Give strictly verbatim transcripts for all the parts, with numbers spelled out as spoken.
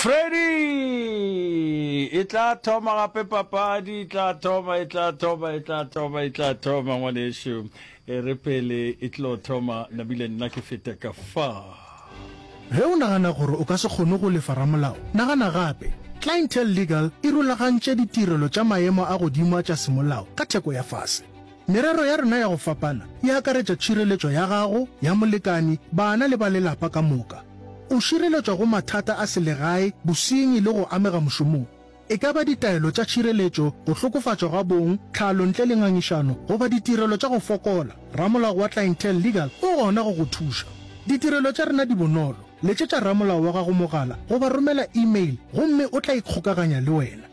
Freddy! E tla thoma gape papadi, e tla thoma, e tla thoma, e tla thoma, e tla thoma, ngwanešu. E re pele e tlo thoma, nabile nna ke fete ka fa. Ge o nagana gore o ka se kgone go lefa ramolao, nagana gape. Clientele Legal e rulagantše ditirelo tša maemo a godimo a tša semolao ka theko ya fase. Merero ya rena ya go fapana e akaretša tšhireletšo ya gago, ya molekani, bana le ba lelapa ka moka. O šireletšwa go mathata a selegae, bosenyi le go amega mošomong. E ka ba ditaelo tša tšhireletšo, go hlokofatšwa ga bong, tlhalo ntle le ngangišano goba ditirelo tša go fokola, ramolao wa Clientele Legal o gona go go thuša. Ditirelo tša rena di bonolo, letšetša ramolao wa gago mogala goba romela email gomme o tla ikgokaganya le wena.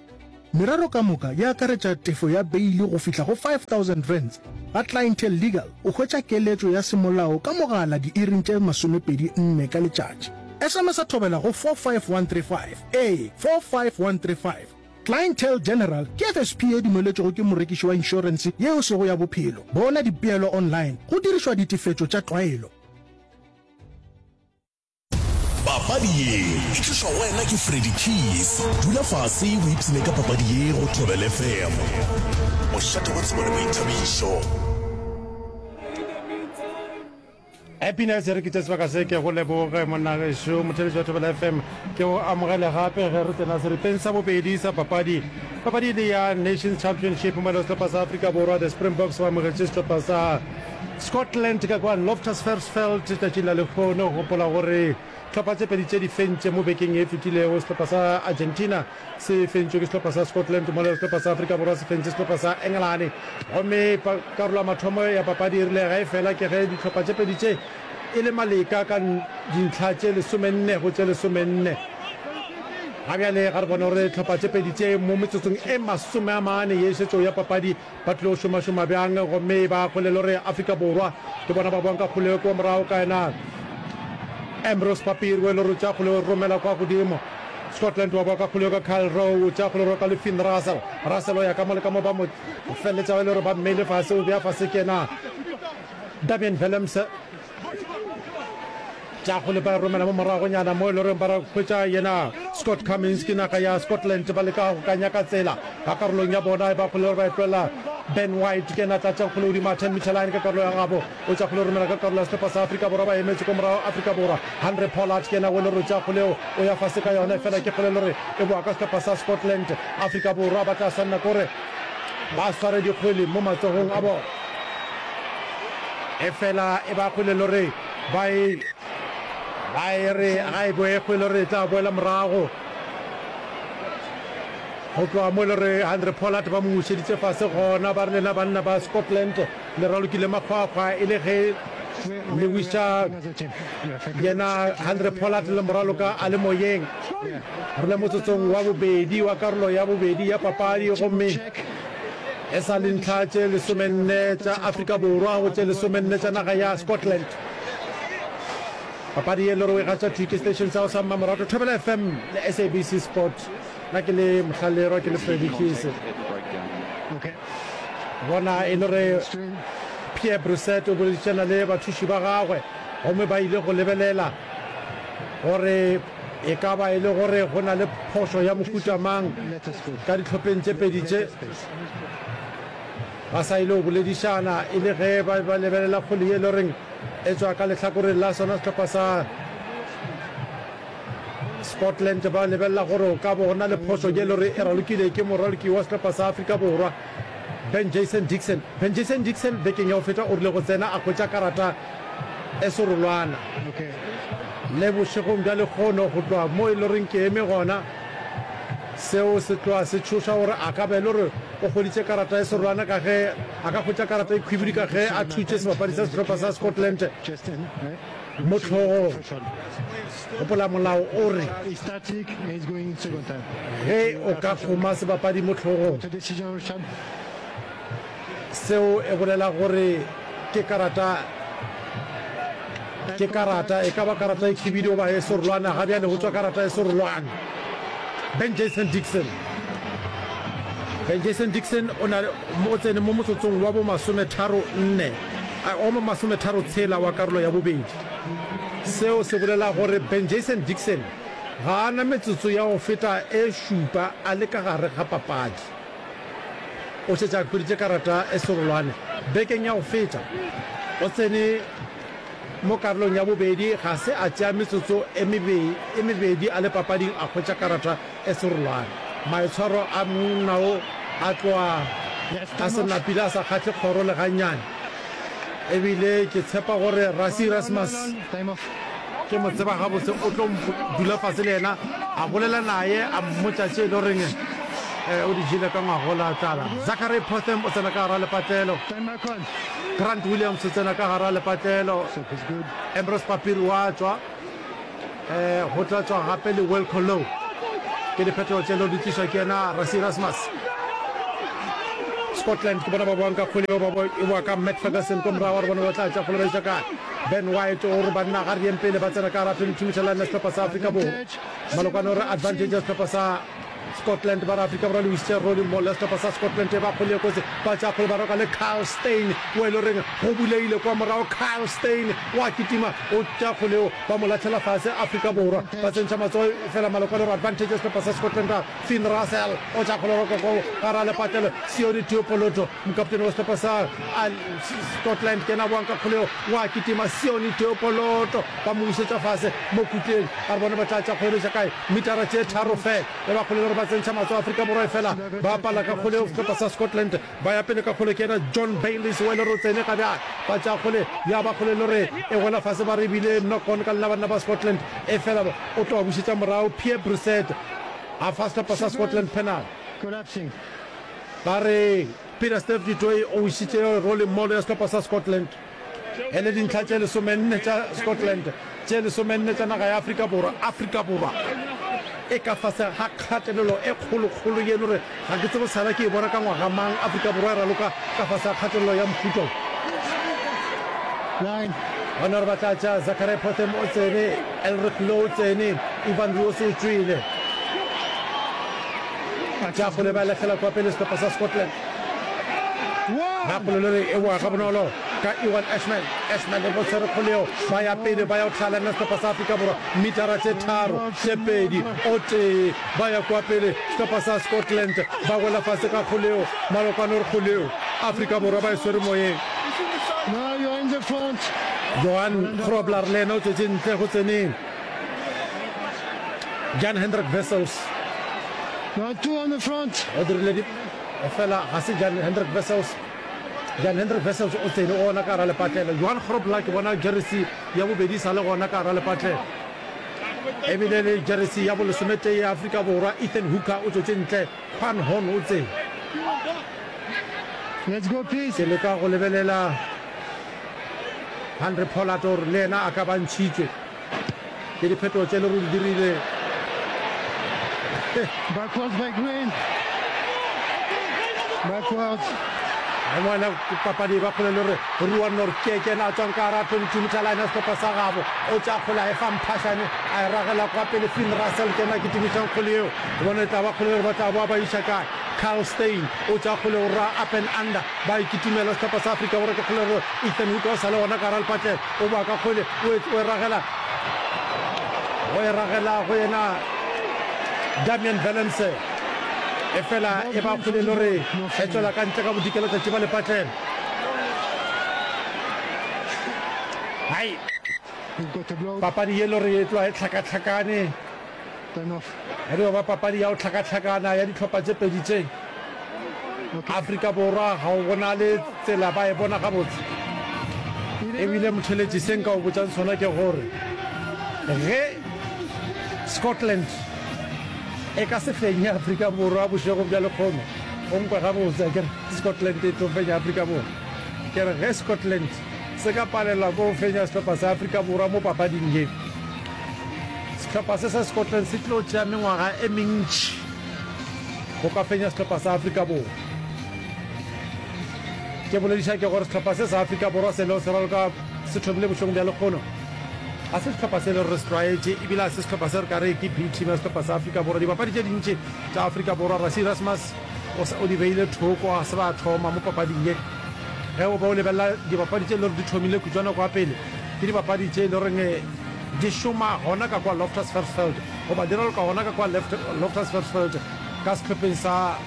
Merero ka moka e akaretša tefo ya beili go fihla go five thousand rands. Ga Clientele Legal o hwetša keletšo ya semolao ka mogala diiring tše masomepedi nne ka letšatši. S M S a thobela go four five one three five, ee, four five one three five. Clientele General ke F S P ye dumeletšwego ke morekiši wa inšorense ye e sego ya bophelo. Bona dipeelo online go dirišwa ditefetšo tša tlwaelo. Papadi ye e tlišwa go wena ke Freddy Keys. Dula fase o ipshine ka papadi ye go Thobela F M. Mošate wa tsebo le boithabišo. Happiness re ke tše sebaka se ke go leboge monna gešo motheletši wa Thobela F M ke go amogele gape ge re tsena seripeng sa bobedi sa papadi. Papadi e le ya Nations Championship mo le sehlopha sa Afrika Borwa the Springboks ba amogetše sehlopha sa Scotland ka kwa Loftus Versfeld tšatšing la lehono. Gopola gore hlopha tše pedi tše di fentše mo bekeng e fetilego. Sehlopha sa Argentina se fentšwe ke sehlopha sa Scotland mola sehlopha sa Afrika Borwa se fentše sehlopha sa Engelane. Gomme karolo ya mathomo ya papadi e rile ge e fela ke ge dihlopha tše pedi tše e le maleka ka dintlha tše lesomenne go tše lesomenne. Ga bjale ga re bone gore hlopha tše pedi tše mo metsotsong e masome a mane ye e šetšego ya papadi ba tlilo šomašoma bjang, gomme ba kgolelo gore Afrika Borwa ke bona ba boang ka kgoleo kua morago ka yena Ambrose Papiri o e le gore tša kgoleo romela kwa godimo. Scotland wa boa ka kgoleo ka Kyle Rowe, tša kgoleo ka le Finn Russell. Russell o ya ka mo le ka mo ba mo feleletša ba e le gore ba mmeile fase, o bea fase ke yena Damian Willemse. Tša kgole ba e romela mo moragonyana mo e le goreng ba hwetša yena Scott Cummins. Ke naga ya Scotland ba leka go ka nyaka tsela ka karolong ya bona, ba kgole gore ba e tlohela Ben White ke yena a tla tšang kgole godimo a ten meter line ka karolo ya gabo, o tša kgole romela ka karolo ya sehlopha sa Afrika Borwa, ba emetše ko morago Afrika Borwa. Handre Pollard ke yena o e le gore o tšea kgole eo o ya fase ka yona, efela ke kgole e le gore e boa ka sehlopha sa Scotland. Afrika Borwa ba tla swanela ke gore ba sware dikgwele mo matsogong a bona, efela e ba kgwele e le gore ba e ba e re ga e boe kgwele gore e tla boela morago go tloga mo e le gore Handre Pollard ba mo bušeditše fase gona. Ba re lena banna ba Scotland le ralokile makgwakgwa e le ge le wiša yena Handre Pollard le moraloka a le moyeng. Re le motsotsong wa bobedi wa karolo ya bobedi ya papadi gomme e sa le ntlha tše lesomenne tša Afrika Borwa go tše lesomenne tša naga ya Scotland. Papadi ye le re o e gatša thwi ke station sa go sa mmamoratwa Thobela F M le S A B C Sport. Nna ke le Mohlallerwa ke le Freddy Keese. Bona e le re Pierre Brissett o boledišana le bathuši ba gagwe gomme ba ile go lebelela gore e ka ba e le gore go na le phošo ya mohuta mang ka dihlopheng tše pedi tše. Ba sa ile go boledišana e le ge ba ba lebelela kgwele ye e le goreng e tšwa ka lehlakoreng la sona sehlopha sa Scotland. Ba lebelela gore o ka bo go na le phošo ye e le gore e ralokile ke moraloki wa sehlopha sa Afrika Borwa Ben Jason Dixon. Ben Jason Dixon bekeng ya go feta o rile go tsena a hwetša karata e serolwana. Le bošegong bja lehono go tloga mo e le goreng ke eme gona, seo se tloga se tšhoša gore a ka ba e le gore o hweditše karata e serolwana ka ge a ka hwetša karata e khwibidu ka ge a thutše sebapadi sa sehlopha sa Scotland mo hlogong. Gopola molao o re ge o ka kgoma sebapadi mo hlogong, seo e bolela gore ke karata, ke karata, e ka ba karata e khibidu goba e serolwana. Ga bjale go tšwa karata e serolwana. Ben Jason Dixon. Ben Jason Dixon o na o tsene mo motsotsong wa bo masometharo nne, wa bo masometharo tshela wa karolo ya bobedi. Seo se bolela gore Ben Jason Dixon Ga a na metsotso ya go feta e šupa a le ka gare ga papadi. O šetše a hweditše karata e serolwane bekeng ya go feta. O tsene mo karolong ya bobedi, ga se a tšea metsotso e e mebedi a le papading a hwetša karata e serolwane. Maitshwaro a monna wo a tloga a se napile a sa kgahle kgoro le gannyane. E bile ke tshepa gore Rassie Erasmus ke mo tseba gabotse, o tlo dula fase le yena a bolela naye a mmotša tše e le goreng o di jele ka ngwagola tlala. Zachary Potham o tsena ka gara lepatlelo, Grant Williams o tsena ka gara lepatlelo, Ambrose Papiri wa tšwa, go tla tšwa gape le Wilco Louw. Ke diphetogo tše leo di tlišwa ke yena Rassie Erasmus. Scotland ke bona ba boang ka kgwele eo, ba e boa ka Matt Ferguson ko morago, re bone ba tla tša kgwele ba iša kae. Ben White o re banna ga re yeng pele, ba tsena ka gara twenty-two meter line ya sehlopha sa Afrika Borwa. Malokwane o re advantage ya sehlopha sa Scotland, ba re Afrika Borwa le wisitše Rolling Maul ya sehlopha sa Scotland e ba kgwele e kotsi, ba tša kgwele ba roka le Kyle Steyn o e le goreng go bulegile kwa morago. Kyle Steyn wa kitima o tša kgwele eo, ba mo lahlela fase. Afrika Borwa ba tsentšha matsogo fela, Malokwane o re advantage ya sehlopha sa Scotland. Finn Russell o tša kgwele roka ko gara lepatlelo, Sione Teopoloto mokaptene wa sehlopha sa Scotland ke yena a boang ka kgwele eo, wa kitima Sione Teopoloto ba mo bušetša fase mo kutleng, a re bone ba tla tša kgwele ba iša kae, metara tše tharo fela e ba kgwele le gore ba tsentšha matsogo Afrika Borwa e fela ba pala ka kgwele eo. Sehlopha sa Scotland ba ya pele ka kgwele ke yena John Bayliss o e le gore o tsene ga bjale, ba tša kgwele ya ba kgwele le gore e wela fase, ba re ebile knock on ka lena banna ba Scotland e fela o tlo ba bušetša morago. Pierre Brissett a fa sehlopha sa Scotland penal. Ba re Peter Steph du Toit o wišitše rolling maul ya sehlopha sa Scotland e le dintlha tše lesomenne tša Scotland, tše lesomenne tša naga ya Afrika Borwa. Afrika Borwa e ka fase ga kgatelelo e kgolokgolo yeno re ga ke tsebe sala ke e bona ka ngwaga mang Afrika Borwa e raloka ka fase ga kgatelelo ya mohuta wo. Gona re ba tla tša Zachary Potham o tsene, Elrigh Louw o tsene, Ivan Roos o tšwele. Tša kgole ba lahlela kwa pele sehlopha sa Scotland. Ga kgole le re e boa gabonolo ka Ewan Ashman. Ashman e tshwere kgole eo, ba ya pele ba ya go tlhala na sehlopha sa Afrika Borwa metara tše tharo, tše pedi, o tee, ba ya kwa pele sehlopha sa Scotland ba wela fase ka kgole eo. Malokwane o re kgole eo Afrika Borwa ba e swere moyeng. Johan Grobler le yena o tswetše ntle go tseneng. Jan Hendrik Wessels o dirile di fela ga se Jan Hendrik Wessels. Jan Hendrik Wessels o tsene o gona ka gara lepatlelo. Johan Grobler ke bona jeresi ya bobedi sa le gona ka gara lepatlelo. Ebile le jeresi ya bolesometee ya Afrika Borwa Ethan Hooker o tswetše ntle. Quan Horn o tsene. Let's go please. Ke leka go lebelela Handre Pollard gore le yena a ka ba ntšhitšwe ke diphetogo tše le gore di dirile. Backwards by Green. Backwards. Ngwana papadi ba kgole le gore Ruan Nortje ke yena a tswang ka gara twenty-two meter line ya sehlopha sa gabo, o tša kgole a e fa Mphahlane a e ragela kwa pele. Finn Russell ke yena a kitimišang kgole yeo, bona e tla ba kgole le gore ba tla boa ba iša kae. Kyle Steyn o tša kgole o ra up and under, ba e kitimela sehlopha sa Afrika Borwa ke kgole gore Ethan Hooker o sa le gona ka gara lepatlelo, o boa ka kgole o e ragela go e ragela go yena Damian Willemse, e fela e ba kgole le gore e tswela ka ntle ka bodikela tšatši ba lepatlelo. Hai, papadi ye le gore e tloga e hlakahlakane, e dio ba papadi ya go hlakahlakana ya dihlopha tše pedi tše. Afrika Borwa ga o bonale tsela ba e bona gabotse. Ebile motheletši se nka o botšang sona ke gore ge Scotland e ka se fenye Afrika Borwa bošego bja lekgono, o nkwe gabotse ke re Scotland e tlo fenya Afrika Borwa. Ke re ge Scotland se ka palelwa ke go fenya sehlopha sa Afrika Borwa mo papading ye, sehlopha se sa Scotland se tlo tšea mengwaga e mentši go ka fenya sehlopha sa Afrika Borwa. Ke bolediša ke gore sehlopha se sa Afrika Borwa se leo se raloka se thomile bošegong bja lekgono, ga se sehlopha se le gore re se tlwaetše, ebile ga se sehlopha se re ka re ke B team ya sehlopha sa Afrika Borwa. Dibapadi tše dintši tša Afrika Borwa, Rassie Erasmus o di beile thoko, ga se ba thoma mo papading ye. Ge o be o lebelela dibapadi tše le gore di thomile kutšwana kwa pele, ke dibapadi tše e le goreng di šoma gona ka kwa Loftus Versfeld, goba di raloka gona ka kwa Loftus Versfeld ka sehlopheng sa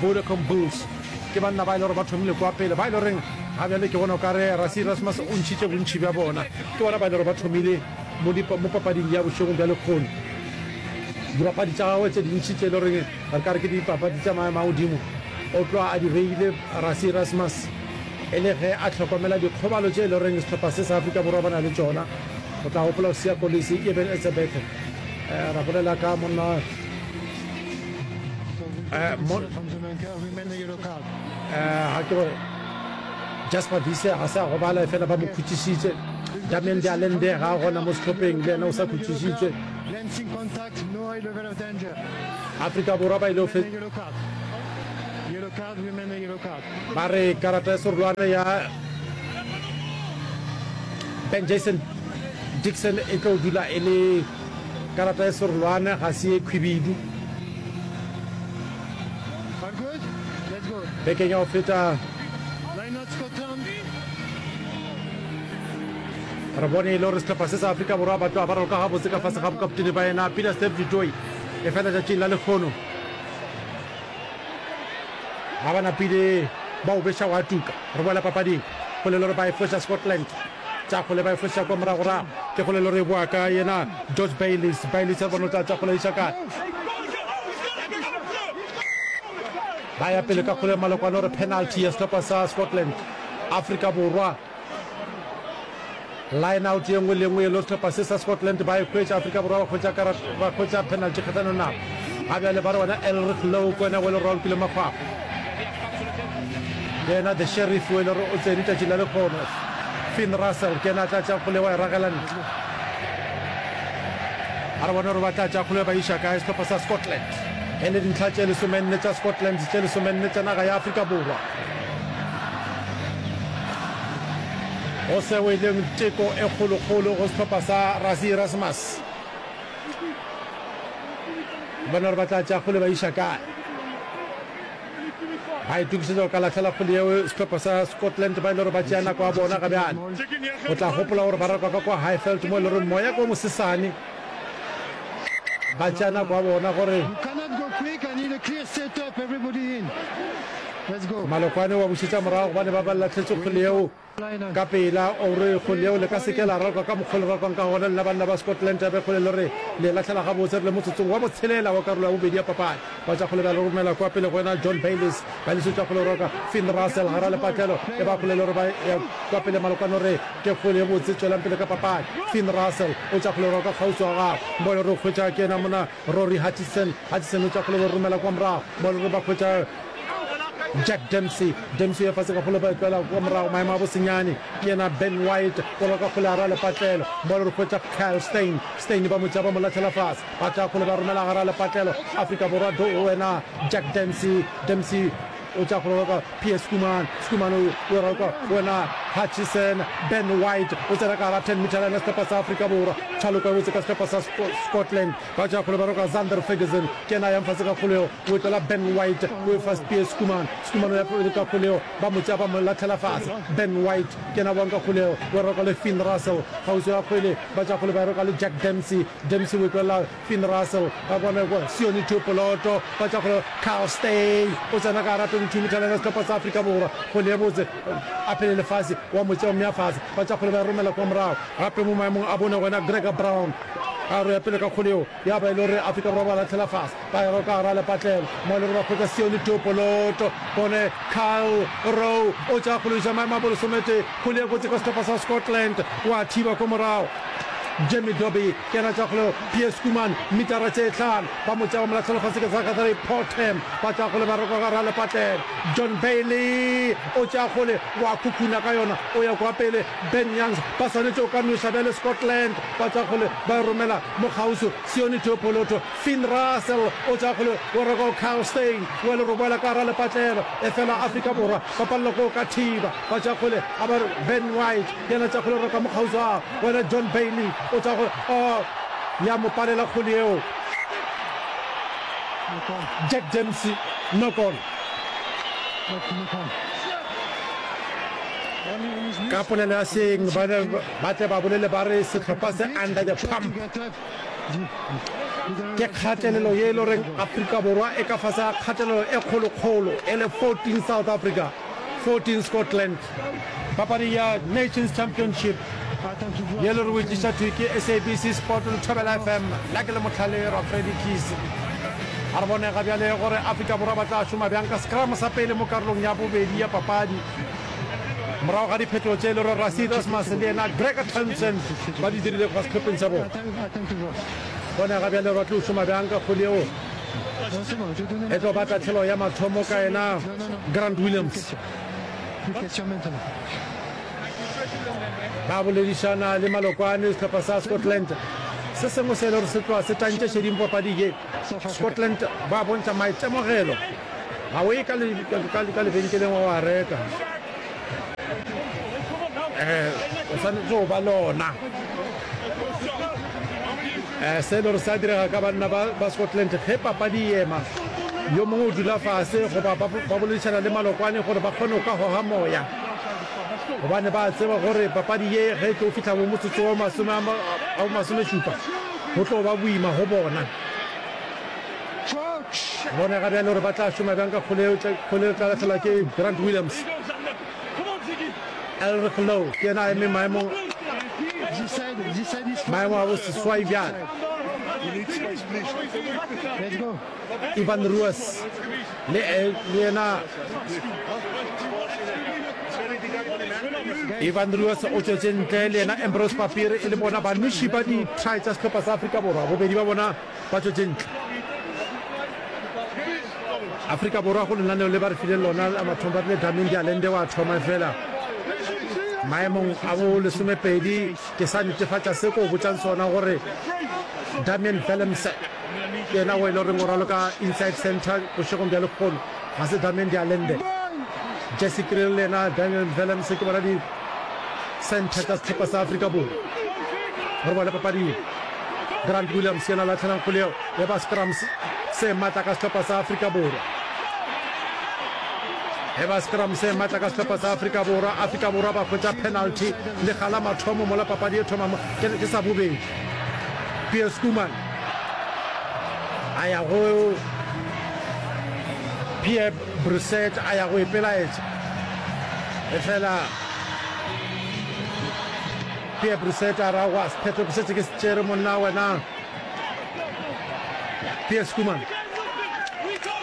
Vodacom Bulls. Ke banna ba e le gore ba thomile kwa pele, ba e le goreng ga bjale ke bona o ka re Rassie Erasmus o ntšhitše bontši bja bona. Ke bona ba e le gore ba thomile mo mo papading ya bošegong bja lekgono. Dibapadi tša gagwe tše dintši tše e le goreng re ka re ke dipapadi tša maemo a godimo, o tloga a di beile Rassie Erasmus e le ge a hlokomela dikgobalo tše e le goreng sehlopha se sa Afrika Borwa ba na le tšona. O tla gopola Siya Kolisi, Eben Etzebeth, ra bolela ka monna ga ke gore Jasper Wiese ga se a gobala efela ba mo khutšišitše. Damian de Allende ga a gona mo sehlopheng, le yena o sa khutšišitšwe. Afrika Borwa ba ile go ba re karata ya serolwane ya Ben Jason Dixon e tlo dula e le karata ya serolwane, ga se ye khwibidu. Bekeng ya go feta re bone e le gore sehlopha se sa Afrika Borwa ba tloga ba raloka gabotse ka fase ga bokaptene ba yena Peter Steph du Toit. E fela tšatšing la lekgono ga ba napile ba o beša wa tuka. Re boela papading, kgole le gore ba e foša Scotland, tša kgole ba e foša kwa moragorago, ke kgole le gore e boa ka yena George Bayliss. Bayliss re bone o tla tša kgole iša kae, ba ya pele ka kgole malokwane gore penalty ya sehlopha sa Scotland. Afrika Borwa line out ye nngwe le nngwe e le sehlopha se sa Scotland ba e hwetša, Afrika Borwa ba hwetša karata, ba hwetša penalty kgahlanong nabo. Ga bjale ba re wena Elrigh Louw ke wena o e le gore o lokile makgwakgwa, ke yena the sheriff o e le gore o tsene tšatši la lekgono. Finn Russell ke yena a tla tša kgole wa e ragela ntle. A re bone gore ba tla tša kgole ba iša kae sehlopha sa Scotland. E le dintlha tše lesomenne tša Scotland, tše lesomenne tša naga ya Afrika Borwa. Go seo e leng teko e kgolokgolo go sehlopha sa Rassie Erasmus. Bone gore ba tla tšea kgole ba iša kae. Ba itokišetša go ka lahlela kgole yeo sehlopha sa Scotland ba e le gore ba tšea nako ya bona ga bjale. O tla gopola gore ba raloka ka kwa Highveld mo e le gore moya ke o mosesane. Ba tšea nako ya bona gore Malokwane wa bušetša morago gobane ba ba lahletše kgole yeo ka pela. O re kgole yeo le ka se ke la raloka ka mokgwa o le ralokang ka gona lena banna ba Scotland. Be kgole le re le lahlela gabotse re le motsotsong wa botshelela wa karolo ya bobedi ya papadi. Ba tša kgole ba romela kwa pele go yena John Bayliss. Bayliss o tša kgole roka Finn Russell gara lepatlelo e ba kgole le gore ba ya kwa pele. Malokwane o re ke kgole ye botse, tšwelang pele ka papadi. Finn Russell o tša kgole roka kgauswi wa gagwe mo le gore o hwetša ke yena mona Rory Hutchison. Hutchison o tša kgole ba romela kwa morago mo le gore ba hwetša Jack Dempsey. Dempsey ya fase ka kgole ba e tloela kwa morago maemo a bosenyane ke yena Ben White o roka kgole gara lepatlelo mo le gore hwetša Kyle Steyn. Steyn ba mo tšea ba mo lahlela fase, ba tšea kgole ba romela gara lepatlelo. Afrika Borwa do wena Jack Dempsey. Dempsey o tšea kgole roka Pierre Schoeman. Schoeman o roka wena Hutchison. Ben White o tsena ka gara ten meter line ya sehlopha sa Afrika Borwa. Tšhaloko e botse ka sehlopha sa Scotland. Ba tšea kgole ba roka Zander Ferguson ke yena a yang fase ka kgole yeo, o e tlola Ben White o e fa Pierre Schoeman. Schoeman o ya pele ka kgole yeo, ba mo tšea ba mo lahlela fase. Ben White ke yena a boang ka kgole yeo, o e roka le Finn Russell kgauswi ga kgwele. Ba tšea kgole ba e roka le Jack Dempsey. Dempsey o e tlolela Finn Russell, ba bona kwa Sione Tuopoloto. Ba tšea kgole Kyle Steyn o tsena ka gara twenty-two meter line ya sehlopha sa Afrika Borwa. Kgwele ye botse a phelele fase, wa mo tšea o mmea fase. Ba tšea kgole ba e romela kwa morago gape mo maemong a bone go yena Gregor Brown. A re ya pele ka kgole yeo ya ba e le gore Afrika Borwa ba lahlela fase, ba e roka gara lepatlelo mo e le gore ba hwetša Sione Tuopoloto. Bone Kyle Rowe o tšea kgole iša maemo a bolesometee. Kgole ye kotsi ka sehlopha sa Scotland, wa thiba ko morago. Jamie Dobie ke yena tšea kgole, Pierre Schoeman metara tše hlano ba mo tšea ba mo lahlela fase ke Zachary Potem. Ba tšea kgole ba roka gara lepatlelo. John Bailey o tšea kgole wa khukhuna ka yona o ya kwa pele. Ben Youngs ba swanetše go ka nweša bjale Scotland. Ba tšwa kgole ba e romela mo kgauswi Sione Theopoloto. Finn Russell o tšwa kgole o reka go Kyle Steyn wa le roboela ka gara lepatlelo. Efela Afrika Borwa ba palelwa ke go ka thiba. Ba tšwa kgole a ba re Ben White yena tšwa kgole o reka mo kgauswi a wena John Bailey o tšwa kgole oh ya mo palela kgole yeo. Jack Dempsey knock on. Ka polelo ya seeng ba tle ba bolele ba re sehlopha se under the pump. Ke kgatelelo ye e le goreng Afrika Borwa e ka fase ga kgatelelo e kgolokgolo, e le fourteen South Africa, fourteen Scotland. Papadi ya Nations Championship ye le re o e tliša thwi ke S A B C Sport le Thobela F M. Nna ke le Mohlale Rwa Freddy Keys. A re bone ga bjale gore Afrika Borwa ba tla šoma bjang ka scrum sa pele mo karolong ya bobedi ya papadi. Morago ga diphetogo tše e le gore Rassie Erasmus le yena Gregor Townsend ba di dirilego ka sehlopheng sa bona. Bone ga bjale ba tlo šoma bjang ka kgwele yeo e tlo ba tahlelo ya mathomo ka yena Grant Williams. Ba boledišana le malokwane sehlopha sa Scotland. Se sengwe se e le gore se tloga se tantše šeding papadi ye. Scotland ba bontšha maitemogelo. Ga o ye ka lebenkeleng wa wa reka. Eh, o swanetše go ba le ona. Eh, se e le gore sa direga ka banna ba, ba Scotland ge papadi e ema, yo mongwe o dula fase goba ba, ba boledišana le malokwane gore ba kgone go ka goga moya, gobane ba tseba gore papadi ye ge e tlo fihla bo motsotso wa masome a, a bo masomešupa, go tlo ba boima go bona. Bone ga bjale gore ba tla šoma bjang ka kgole yeo, kgole e tla lahlelwa ke Grant Williams. Elrigh Louw ke yena a eme maemong maemo a boseswai bjale. Ivan Ruas le le yena Ivan Ruas o tšwetše ntle le yena Ambrose Papiri e le bona banoši ba di-try tša sehlopha sa Afrika Borwa. Bobedi ba bona ba tšwetše ntle. Afrika Borwa go lenaneo le ba re fileng lona la mathomo ba rile Damian de Allende wa thoma efela maemong a bo lesomepedi ke sa netefatša se ko botšang sona gore Damian Willemse ke yena o e le goreng o raloka inside center bošegong bja lekgono ga se Damian de Allende. Jesse Kriel le yena Daniel Willemse ke bona di center tša sehlopha sa Afrika Borwa. Re bone papadi ye. Grant Williams yena lahlelang kgwele yeo ya ba scrum se matla ka sehlopha sa Afrika Borwa. E ba scrum se matla ka sehlopha sa Afrika Borwa. Afrika Borwa ba hwetša penalty lekga la mathomo mola papadi e thoma ke sa bobedi. Pierre Schoeman a ya go Pierre Brissett a ya go ipelaetša efela Pierre Brissett a ra wa sephetho ke šetše ke se tšere monna wena Pierre Schoeman.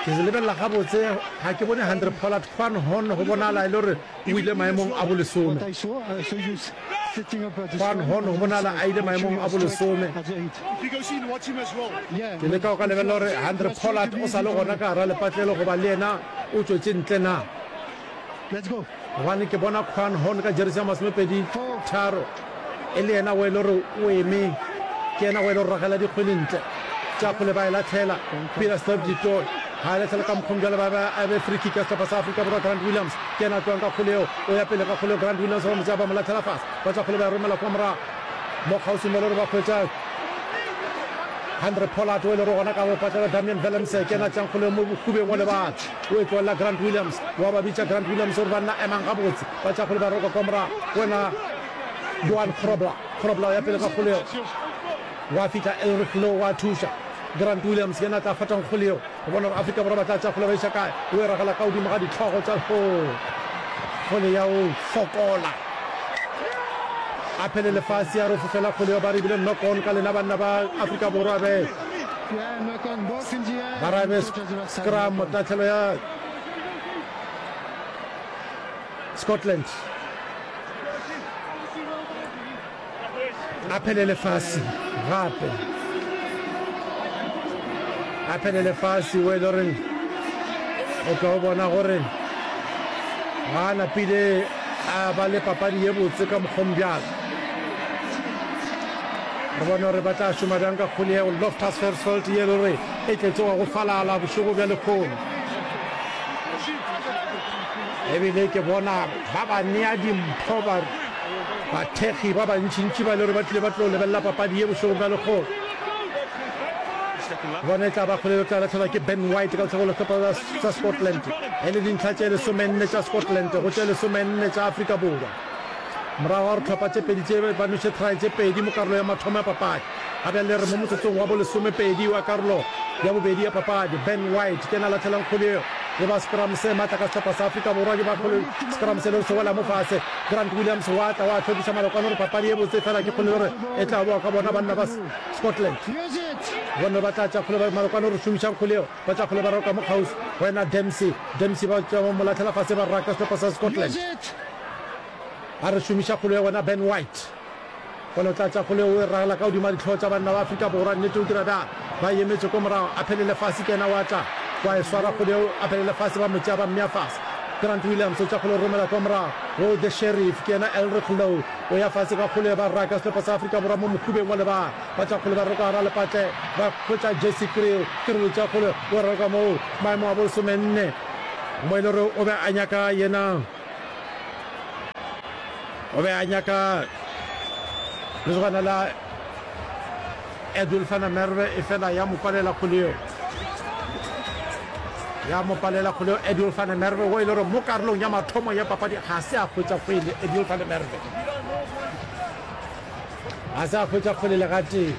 Ke se lebelela gabotse ga ke bone Handre Pollard Quan Horn go bonala e le gore o ile maemong a bolesome. Quan Horn go bonala a ile maemong a bolesome. Ke leka go ka lebelela gore Handre Pollard o sa le gona ka gara lepatlelo goba le yena o tšwetše ntle na. Gobane ke bona Quan Horn ka jeresi ya masomepedi tharo e le yena o e le gore o eme, ke yena o e le gore ragela dikgwele ntle. Tša kgole ba e lahlela, Pieter Steph du Toit ga e lahlela ka mokgong bjale ba ba a be free kick ya sehlopha sa Afrika Borwa. Grant Williams ke yena a tlogang ka kgole yeo, o ya pele ka kgole yeo. Grant Williams ba mo tšea ba mo lahlela fase, ba tša kgole ba e romela kwa morago mo kgauswi mo e le gore ba hwetša Handre Pollard o e le gore gona ka bopatlela. Damian Willemse ke yena a tšeang kgole yeo mo bohubeng wa lebala. O e tlogelela Grant Williams. Wa ba bitša Grant Williams gore banna emang gabotse. Ba tša kgole ba roka kwa morago. Wena Johan Grobler. Grobler o ya pele ka kgole yeo. Gwa fihla Elrigh Louw wa thuša. Grant Williams ke yena a tla fatang kgole yeo. Go bona gore Afrika Borwa ba tla tša kgole ba iša kae. O e ragela ka godimo ga dihlogo tša ho. Kgole ya o fokola. A phele lefase ya re fofela kgole yeo ba re ebile knock on ka lena banna ba Afrika Borwa be. Ba ra be scrum tahlelo ya Scotland. A phele lefase gape. A phele lefase o e le goreng o tlo bona gore ga a napile a ba le papadi ye botse ka mokgong bjalo. Re bone gore ba tla šoma bjang ka kgole yeo Loftus Versfeld ye le gore e tletše wa go falala bošego bja lekgono. Ebile ke bona ba ba nea dimpho ba bathekgi ba bantšintši ba le gore ba tlile ba tlo lebelela papadi ye bošego bja lekgono. Bona e tla ba kgole e tla lahlelwa ke Ben White ka lehlakore la sehlopha sa Scotland e le dintlha tše lesomenne tša Scotland go tše lesomenne tša Afrika Borwa. Morago ga gore tlhopha tše pedi tše ba noše try tše pedi mo karolo ya mathomo ya papadi, Ga bjale re mo motsotsong wa bolesomepedi wa karolo ya bobedi ya papadi. Ben White ke yena a lahlelang kgwele yeo. E ba scrum se matla ka sehlopha sa Afrika Borwa. Ke ba kgwele scrum se le se wela mo fase. Grant Williams wa tla wa hlwekiša malokwane gore papadi ye botse fela ke kgwele gore e tla boa ka bona banna ba Scotland. Bone ba tla tša kgwele ba malokwane gore šomišang kgwele yeo. Ba tša kgwele ba roka mo kgauswi go yena Dempsey. Dempsey ba tša mo lahlela fase ba raka sehlopha sa Scotland. A re šomiša kgwele ya wena Ben White. Bone o tla tša kgwele o e ragela ka godimo ga dihlogo tša banna ba Afrika Borwa. Nnete o dira bjang? Ba e emetše ko morago. A phelele fase ke yena wa tla wa e swara kgwele yeo. A phelele fase ba mo tšea ba mmea fase. Grant Williams o tša kgwele o romela kwa morago go The Sheriff. Ke yena Elrigh Louw o ya fase ka kgwele ba raka sehlopha sa Afrika Borwa mo mohubeng wa lebala. Ba tša kgwele ba roka gara lepatle ba hwetša Jesse Kriel. Kriel o tša kgwele o roka moo maemo a bolesomenne mo e le gore o be a nyaka yena o be a nyaka lesogana la Edwill van der Merwe e fela ya mo palela kgwele yeo ya mo palela kgwele yeo Edwill van der Merwe wo e le gore mo karolong ya mathomo ya papadi ga se a hwetša kgwele Edwill van der Merwe Ga se a hwetša kgwele le gatee.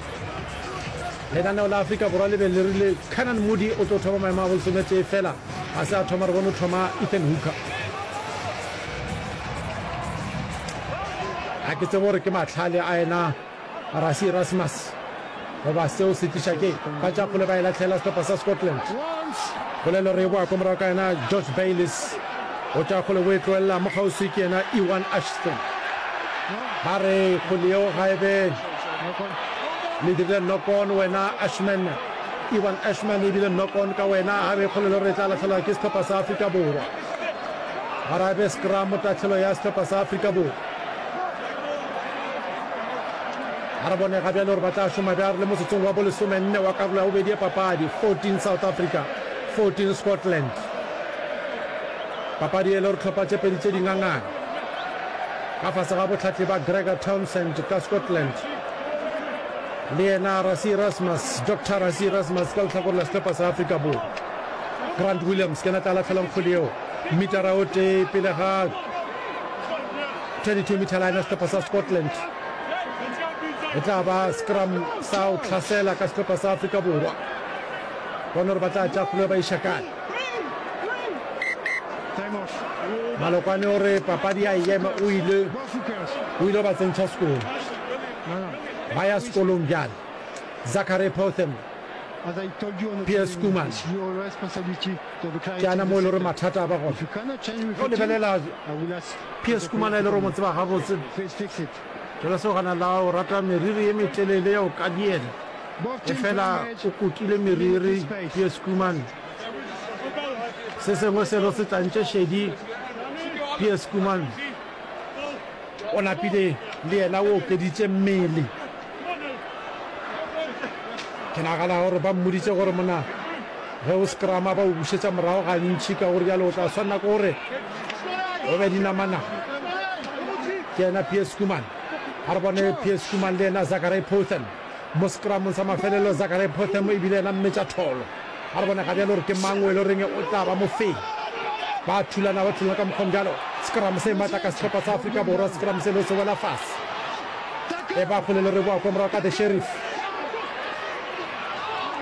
Lenaneo la Afrika Borwa le be le rile Canan Moodie o tlo thoma maemo a bolesometee fela ga se a thoma, re bone o thoma Ethan Hooker. Ga ke tsebe gore ke mahlale a yena Rassie Erasmus goba seo se tliša ke ba tša kgole ba e lahlela sehlopha sa Scotland. Polelo re e boa ko morago ka yena George Bayliss o tša kgole o e tlogelela mo kgauswi ke yena Ewan Ashton. Ba re kgole yeo ga e be le dirile knock on wena Ashman. Ewan Ashman e bile knock on ka wena ga be kgole le gore e tla lahlelwa ke sehlopha sa Afrika Borwa. Ba re a be scrum tahlelo ya sehlopha sa Afrika Borwa. A re bone ga bjale gore ba tla šoma bjang re le motsotsong wa bolesomenne wa karolo ya bobedi ya papadi, fourteen South Africa, fourteen Scotland. Papadi e le gore tlhopha tše pedi tše di ngangana ka fase ga bohlatli ba Gregor Townsend ka Scotland le yena Rassie Erasmus, Doctor Rassie Erasmus ka lehlakore la sehlopha sa Afrika Borwa. Grant Williams ke yena tla lahlelang kgwele yeo metara o tee pele ga twenty-two meter line ya sehlopha sa Scotland. E tla ba scrum sa go hlasela ka sehlopha sa Afrika Borwa. Bona gore ba tla tša kgolo ba iša kae. Malokwane o re papadi ya ema o ile o ile ba tsentšha sekolo. Ba ya sekolong bjale. Zachary Potham, Pierre Schoeman ke ana mo e le gore mathata a ba gona. Ge o lebelela Pierre Schoeman e le gore o mo tseba gabotse. Lesogana la o rata meriri ye metelele ya go kadiela, efela o kotile meriri Pierre Schoeman. Se sengwe selo se tlantše šedi Pierre Schoeman. O napile le yena o okeditše mmele. Ke nagana gore ba mmoditše gore mona ge o scrama ba o bušetša morago gantši, ka gore bjale o tla swanela ke gore o be dinamanama. Ke yena Pierre Schoeman. A re bone Pierre Schoeman le yena Zachary Potham mo scramong sa mafelelo. Zachary Potham e bile yena mmetša tholo. A re bone ga bjale gore ke mang o e le goreng o tla ba mofenyi. Ba thulana, ba thulana ka mokgwa bjalo. Scrum se matla ka sehlopha sa Afrika Borwa. Scrum se lo se wela fase. E ba kgole le re boa kwa morago ka The Sheriff.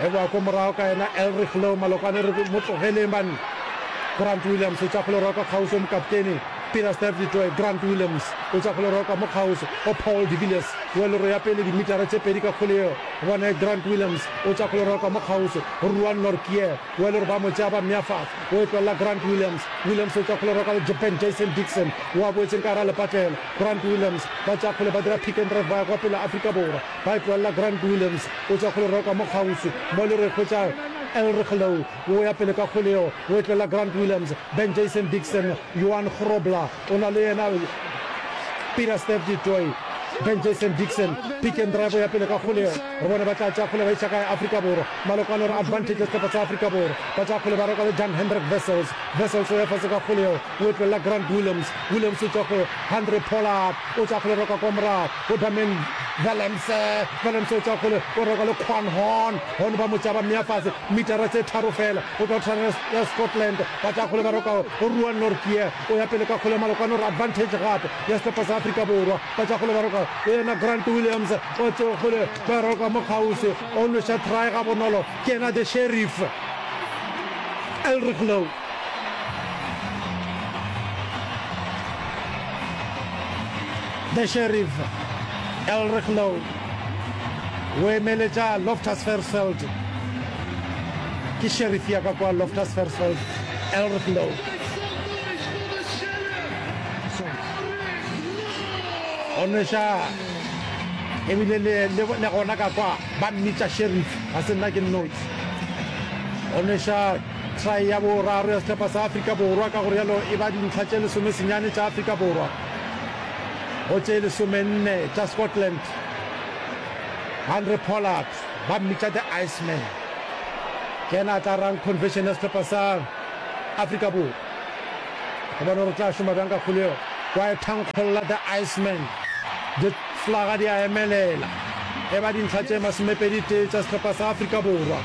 E boa kwa morago ka yena Elrigh Louw. Malokwane re mo tlogeleng banna. Grant Williams o tša kgole roka kgauswi o mokaptene Peter Steph du Toit. Grant Williams o tša kgole roka mo kgauswi o Paul de Villiers. Welero ya pele dimitara tše pedi ka kgole yeo. Bone Grant Williams o tša kgole roka mo kgauswi go Ruan Nortje. Welero ba mo tšea ba mmea fase. O e tlolela Grant Williams. Williams o tša kgole roka le Japan Jason Dixon o a boetseng ka gara lepatlelo. Grant Williams ba tša kgole ba dira pick and drive ba ya kwa pele Afrika Borwa. Ba e tlolela Grant Williams o tša kgole roka mo kgauswi mo le re hwetša Elrigh Louw o ya pele ka kgole yeo o e tlolela Grant Williams. Ben Jason Dixon, Johan Grobler o na le yena Peter Steph du Toit. Ben Jason Dixon pick and drive o ya pele ka kgole yeo re bone ba tla tša kgole ba iša kae Afrika Borwa. Malokwane o re advantage ya sehlopha sa Afrika Borwa. Ba tša kgole ba roka le Jan Hendrik Wessels. Wessels o ya fase ka kgole yeo o e tlolela Grant Williams. Williams o tšwa go Handre Pollard o tša kgole roka kwa morago go Damian Willemse, Willemse o tšea kgole, o raloka le Quan Horn, Horn ba mo tšea ba mmea fase, metara tše tharo fela go tšwa tshwanelo ya Scotland. Ba tšea kgole ba roka go Ruan Nortje, o ya pele ka kgole Malokwane o re advantage gape ya sehlopha sa Afrika Borwa. Ba tšea kgole ba roka go yena Grant Williams, o tšea kgole ba roka mo kgauswi, o nweša try gabonolo, ke yena the Sheriff Elrigh Louw. The Sheriff Elrigh Louw o emeletša Loftus Versfeld. Ke sheriff ya ka kwa Loftus Versfeld, Elrigh Louw. O nweša ebile le, le, le gona ka kwa ba mmitša sheriff, ga se nna ke nnoši. O nweša try ya boraro ya sehlopha sa Afrika Borwa, ka go rialo e ba dintlha tše lesomesenyane tša Afrika Borwa go tše lesomenne tša Scotland. Handre Pollard, ba mmitša The Iceman, ke yena a tla rang conversion ya sehlopha sa Afrika Borwa. Go bona gore o tla šoma bjang ka kgolo yeo. Wa e thankgolla The Iceman. Diflaga di a emelela. E ba dintlha tše masomepedi tee tša sehlopha sa Afrika Borwa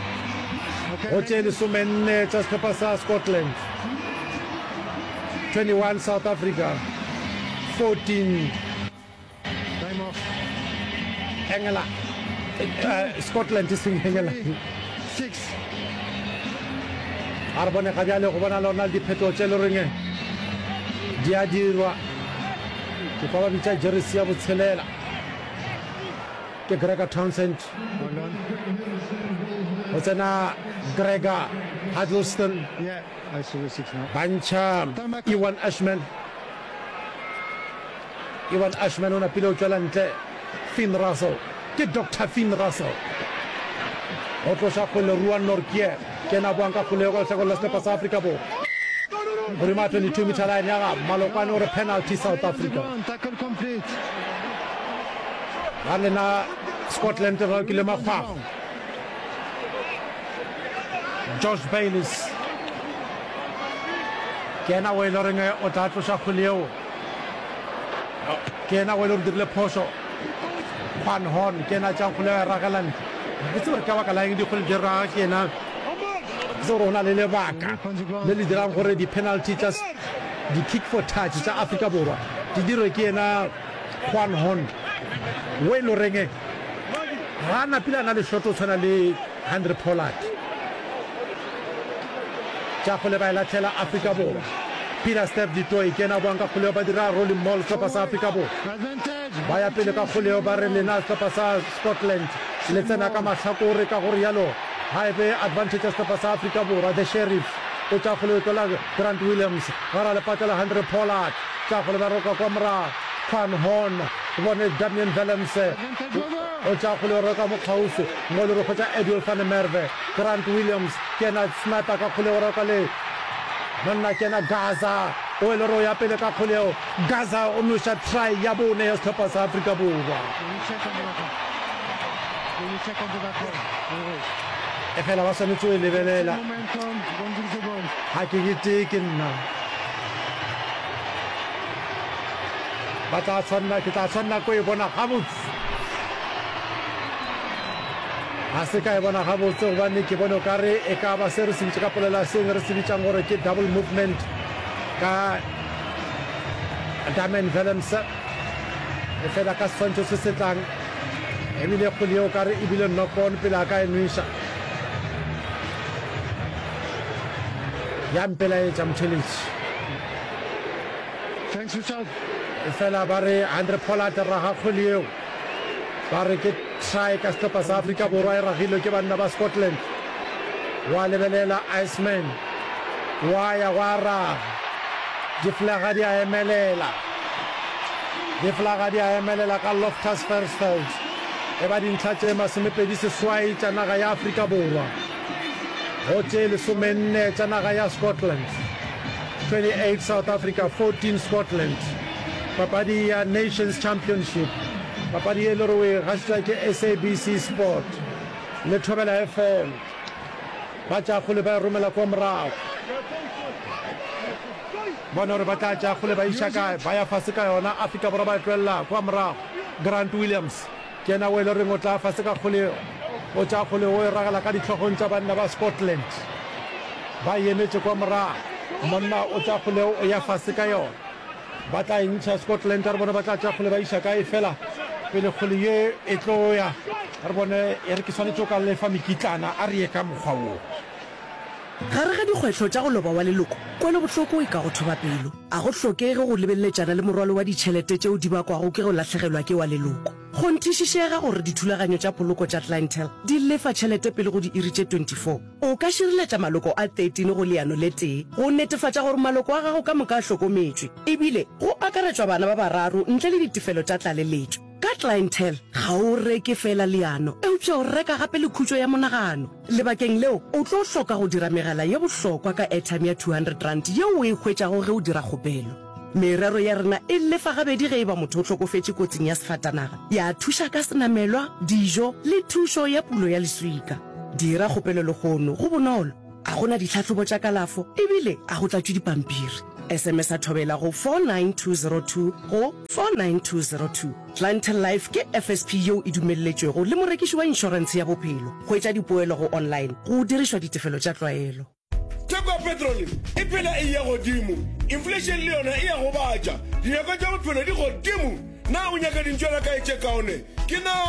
go tše lesomenne tša sehlopha sa Scotland. twenty one South Africa, fourteen England, Scotland e seng England. A re bone ga bjale go bona le ona le diphetogo tše le reng di a dirwa. Ke kwa ba bitša jeresi ya botshelela ke Gregor Townsend. Go tsena Gregor Huddleston. Ba ntšha Ewan Ashman. Ewan Ashman o napile o tšwela ntle. Finn Russell. Ke Doctor Finn Russell. Go tloša kgole Ruan Nortje. Ke yena a boang ka kgole ka lehlakoreng la sehlopha sa Afrika Borwa. Godimo ga twenty-two meter line ya ga Malokwane o re penalty South Africa. Ba lena Scotland re ralokile makgwakgwa. Josh Bayliss ke yena o e le goreng o tla tloša kgwele yeo. Ke yena o e le gore dirile phošo. Juan Horn ke yena a tšeang kgwele ya ragela ntle. Ga ke tsebe gore ka baka la eng dikgwele di raga ke yena. Ke tsebe gore go na le lebaka le le dirang gore di-penalty tša di-kick for touch tša Afrika Borwa di dirwe ke yena Juan Horn o e le goreng ga a napile a na le shot o tshwana le Handre Pollard. Tša kgole ba e lahlela Afrika Borwa. Peter Steph du Toit ke yena a boang ka kgoleo ba dira rolling maul sehlopha sa Afrika Borwa. Ba ya pele ka kgoleo ba re lena sehlopha sa Scotland le tsena ka mahlakore ka go rialo ga e be advantage ya sehlopha sa Afrika Borwa. The Sheriff o tša kgoleo e tlola Grant Williams gara lepatla la Handre Pollard. Tša kgole ba roka kwa morago Quan Horn bone Damian Willemse o tša kgole o roka mo kgauswi mo le re hwetša Edwill van der Merwe. Grant Williams ke yena sniper ka kgole o roka le monna ke yena Gaza o e le gore o ya pele ka kgole yeo. Gaza o noša try ya bone ya sehlopha sa Afrika Borwa. Efela ba swanetše go e lebelela. Ga ke ke tee ke nna. Ba tla tshwanela, ke tla tshwanela ko e bona gabotse. Ga se ka e bona gabotse gobane ke bone o ka re e ka ba se re se bitša ka polelo ya seng re se bitšang gore ke double movement ka Damian Willemse. Efela ka seswantšho se se tlang ebile kgwele yeo ka re ebile knock on pele a ka e nweša. Ya mpelaetša motheletši. Thanks, Richard. Efela ba re Handre Pollard raga kgwele yeo. Ba re ke try ka sehlopha sa Afrika Borwa e ragilwe ke banna ba Scotland. Wa lebelela Iceman. Wa ya gwa raga. Diflaga di a emelela. Diflaga di a emelela ka Loftus Versfeld. E ba dintlha tše masomepedi seswai tša naga ya Afrika Borwa go tše lesomenne tša naga ya Scotland. twenty eight South Africa, fourteen Scotland. Papadi ya Nations Championship, papadi ye e le gore o e gašetša ke S A B C Sport le Thobela F M. Ba tšea kgole ba e romela kwa morago. Bone gore ba tla tšea kgole ba iša kae, ba ya fase ka yona. Afrika Borwa ba e tlogelela kwa morago. Grant Williams Ke yena o e le reng o tla fase ka kgole, o tša kgole o e ragela ka dihlogong tša banna ba Scotland. Ba e emetše kwa morago. Monna o tša kgole o ya fase ka yona. Ba tla e ntšha Scotland, a re bone ba tla tša kgole ba iša kae. Fela pele kgole ye e tlo ya, a re bone e re ke swanetše o ka lefa mekitlana, a re ye ka mokgwa wo. Gare ga dikgwetlho tša go loba wa leloko, kwelobohloko e ka go thoba pelo. A go hlokege go lebeleletšana le morwalo wa ditšhelete tšeo di bakwago ke go lahlegelwa ke wa leloko. Kgonthišišega gore dithulaganyo tša poloko tša Clientele di lefa tšhelete pele go diiri tše twenty four. O ka šireletša maloko a thirteen go leano le tee go netefatša gore maloko a gago ka moka a hlokometšwe, ebile go akaretšwa bana ba bararo ntle le ditefelo tša tlaleletšo. Ka Clientele, ga o reke feela leano, eupša o reka gape le khutšo ya monagano. Lebakeng leo, o tlo hloka go dira megala ye bohlokwa ka airtime ya two hundred rand yeo o e hwetšago ge o dira kgopelo. Merero ya rena e lefa gabedi ge e ba motho o hlokofetše kotsing ya sefatanaga, ya thuša ka senamelwa, dijo le thušo ya pulo ya leswika. Dira kgopelo lehono, go bonolo, a go na ditlhahlobo tša kalafo ebile a go tlatšwe dipampiri. S M S a thobela go four nine two zero two go four nine two zero two. Clientele Life ke F S P yeo e dumelletšwego le morekiši wa inšorentshe ya bophelo. Hwetša dipoelo go online go dirišwa ditefelo tša tlwaelo. Theko ya petrole e phela e eya godimo, inflation le yona e a gobatša, dinyakwa tša bophelo di godimo. Na o nyaka dintšwela kae tše kaone? Ke na.